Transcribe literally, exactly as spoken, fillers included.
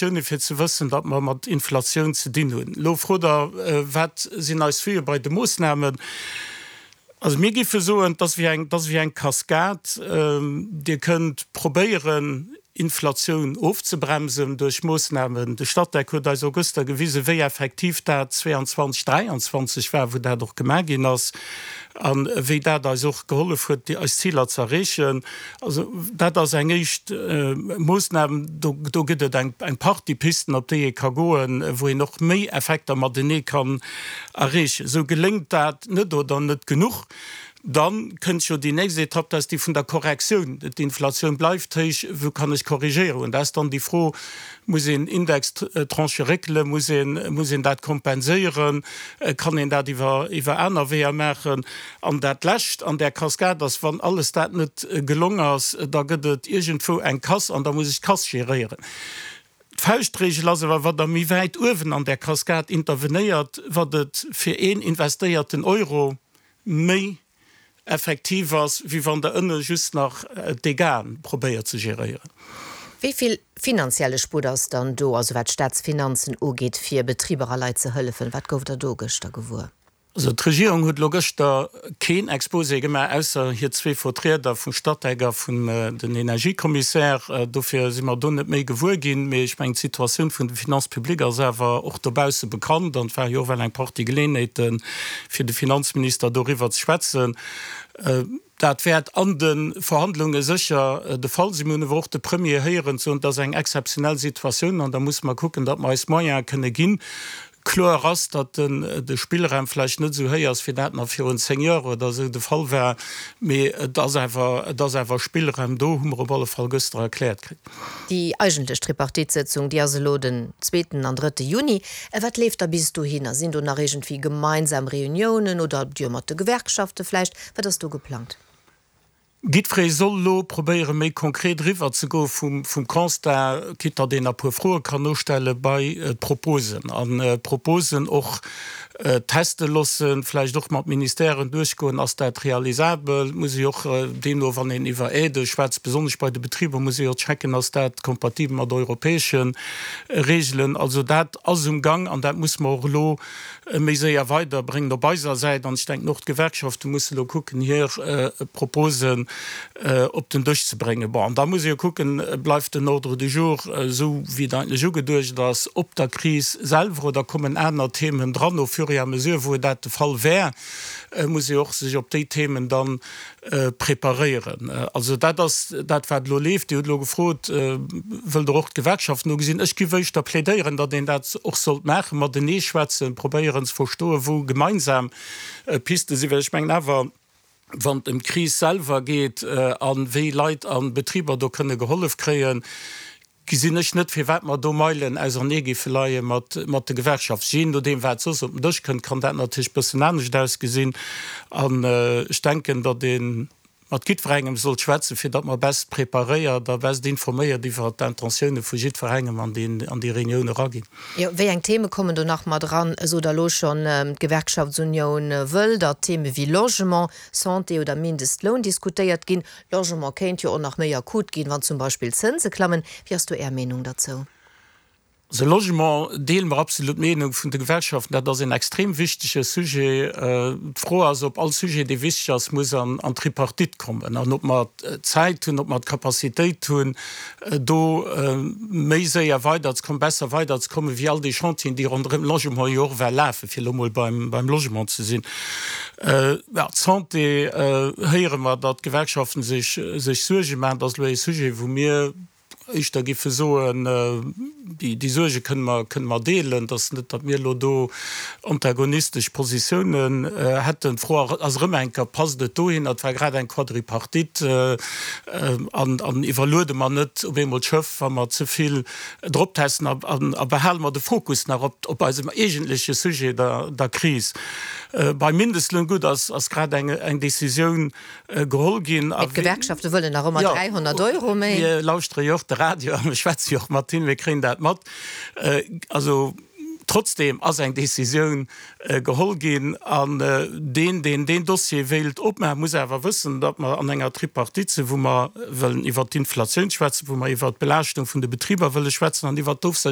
Simulatioune fir ze wëssen, datt mer mat Inflatioun ze dinn hunn. Elo frot Der, wat sinn eis Vueë bei de Moossnamen? Also mir géife soen, et ass wéi eng, et ass wéi eng Kaskad. Dir kënnt probéieren, Inflatioun ofzebremsen duerch Moossnamen. De Statec huet eis och gëschter gewisen, wéi effektiv dat zweeanzwanzeg, dräianzwanzeg war, wou dat och gemaach ginn ass, a wéi dat eis och gehollef huet, déi eis Ziler ze erreechen. Also dat ass eng éischt Moossnam. Do, do gëtt et eng, eng Partie Pisten, op déi ee ka goen, wou een och méi Effekter matenee kann erreechen. Sou geléngt dat net oder net genuch, Dann kënnt jo déi nächst Etapp, dat ass déi vun der Korrektioun. D'Inflatioun bleift héich, wou kann ech korrigéieren? Dat ass dann déi Fro, Muss een Indextranchë réckelen? Muss een, muss een dat kompenséieren? Kann een dat iwwer, iwwer aner Weeër maachen? An dat Lescht an där Kaskad ass, wann alles dat net gelong ass, da gëtt et iergendwou eng Casse an da muss ech d'Casse geréieren. D'Fauschtregel ass awer, wat Der méi wäit uewen an där Kaskad intervenéiert, wat et fir een investéierten Euro méi effektiv ass, wéi wann Der ënne just nach d'Dégâten probéiert ze geréieren. Wéi vill finanzielle Sputt ass dann do, also wat d'Staatsfinanzen ugeet, fir Betriber a Leit ze hëllefen? Wat gouft Der do gëschter gewuer? Also d'Regierung huet elo gëschter keen Exposé gemaach, ausser hir zwee Vertrieder vum Statec a vun den Energiekommissär. Dofir si mer do net méi gewuer ginn. Mee ech mengen, d'Situatioun vun de Finances publiques ass awer och dobausse bekannt an et ware jo och well eng Partie Geleeënheeten, fir de Finanzminister doriwwer ze schwätzen. Dat wäert an de Verhandlunge sécher de Fall sinn. Mir hunn awer och de Premier héieren soen, et ass eng exzeptionell Situatioun an da musse mer kucken, datt mer eis Moyene kënne ginn. Kloer ass, datt de Spillraum vläicht net esou héich ass, wéi dat nach virun zéng Joer oder esou de Fall war, mee et ass awer, et ass awer Spillraum do, hu mer op alle Fall gëschter erkläert kritt. Déi eigentlech Tripartite-Sëtzung, déi ass elo den zweeten an drëtte Juni. Wat leeft da bis dohinner? Sinn do nach iergendwéi gemeinsam Reuniounen oder Dir mat de Gewerkschafte vläicht? Wat ass do geplangt? Jiddweree soll elo probéieren, méi konkret eriwwer ze goe vum Constat, quitte datt een e puer Froe kann nostelle bei d'Proposen, an d'Proposen och teste loossen, vläicht och mat Ministèren duerchgoen, ass dat realisabel, muss ee och deemno, wann een iwwer Aidë schwätzt, besonnesch bei de Betriber, muss ee jo checken, ass dat kompatibel mat europäesche Regelen. Also dat ass um Gang an dat musse mer och elo méi séier weiderbréngen op eiser Säit. An ech denken, och d'Gewerkschafte musse elo kucken, hir Proposen op den Dësch ze bréngen. Bon, an da muss ee jo kucken, Bleift den Ordre du jour esou, wéi et eigentlech ugeduecht ass, op der Kris selwer, oder kommen aner Themen dran? Au fur et à mesure, wou dat de Fall wär, muss ee och sech op déi Themen da preparéieren. Also dat ass dat, wat elo leeft. Dir hutt elo gefrot, Wëllt Der och d'Gewerkschaften ugesinn? Ech géif éischter plädéieren, datt een dat och sollt maachen, matenee schwätzen, probéieren ze verstoen, wou gemeinsam Piste sinn, well ech mengen awer, wann et ëm d'Kris selwer geet a wéi Leit a Betriber do kënne gehollef kréien, gesinn ech net, firwat mer do Meilen ausernee géife leie mat de Gewerkschaften. Jee nodeem, wat soss op den Dësch kënnt, kann dat natierlech e bëssen anescht ausgesinn. An ech denken, datt ee mat jiddwerengem sollt schwätzen, fir datt mer best preparéiert a best informéiert iwwert d'Intentioune vu jiddwerengem an déi Reunioun eraginn. Jo, wéi eng Theme kommen do nach mat eran? Sot Der elo schonn, d'Gewerkschaftsunioun wëll, datt Theme wéi Logement, Santé oder Mindestloun diskutéiert ginn. Logement kéint jo och nach méi akut ginn, wann zum Beispill d'Zënse klammen. Wéi ass do Är Meenung derzou? Also Logement deele mer absolut d'Meenung vun de Gewerkschaften, dat ass een extrem wichtege Sujet. D'Fro ass, ob all Sujet, dee wichteg ass, muss an d'Tripartite kommen an ob mer d'Zäit hunn, ob mer d'Capacitéit hunn, do méi séier weiderzekommen, besser weiderzekommen, wéi all déi Chantieren, déi ronderëm Logement jo och ewell lafen, fir elo mol beim Logement ze sinn. D'Santé, héiere mer, datt d'Gewerkschaften sech Suerge maachen. Dat ass elo ee Sujet, wou mir éischter géife soen, déi Suerge kënne mer, kënne mer deelen. Et ass net, datt mir elo do antagonistesch Positiounen hätten. D'Fro ass erëm eng Kéier, Passt et dohinner? Et war grad eng Quadripartite. An, an iwwerluede mer net op eemol d'Schëff, wa mer ze vill drop testen? A behale mer de Fokus nach op, op eisem eigentleche Sujet, der, der Kris? Beim Mindestloun, gutt, ass, ass grad eng, eng Décisioun geholl ginn. Mee d'Gewerkschafte wëllen nach ëmmer dräihonnert Euro méi. Mir lauschtere jo och de Radio a mir schwätze jo och mat hinnen, mir kréien dat mat. Also trotzdeem ass eng Décisioun geholl ginn. An deen, deen deen Dossier wéilt opmaachen, muss awer wëssen, datt mer an enger Tripartite sinn, wou mer wëllen iwwert d'Inflatioun schwätzen, wou mer iwwert d'Belaaschtung vun de Betriber wëlle schwätzen an iwwert d'Ofsécherung.